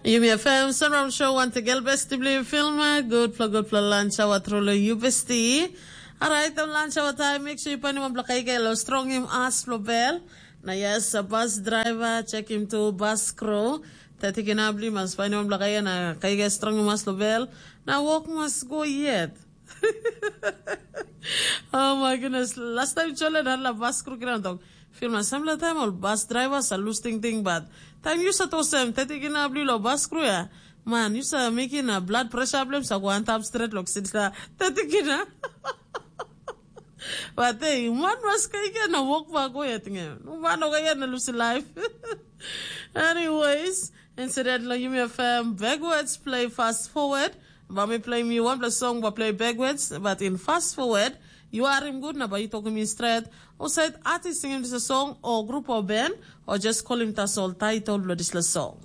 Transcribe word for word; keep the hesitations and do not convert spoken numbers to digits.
Yumi F M Sunrise Show wantegel besti bilong film. Gutpela gutpela lunch hour tru long yu besti. Alright, long lunch hour time, make sure you painim wanpela kaikai long strongim as long bel. Na yes, a bus driver, check him to bus crew. Teti kina bli mas painim wanpela kaikai na kaikai strongim as long bel. Na work mas go yet. Oh my goodness. Last time chole na la bus crew kina tok. Film na sampela taim ol bus drivers a lus tingting bat taim yu sat olsem teti kina bli lo bus crew ya. Man, yu sa mekim na blood pressure blem sa go antap stret lo sitla teti kina. But hey, man was kaikia na walk back go ya tingem. Man oga ya na lose life. Anyways, instead lo yumi F M backwards play fast forward. Ba mi play mi wanpela song ba play backwards, but in fast forward, you are him good na ba you talking me straight. Or said artist singing this song or group or band or just call him tasol title lo this song.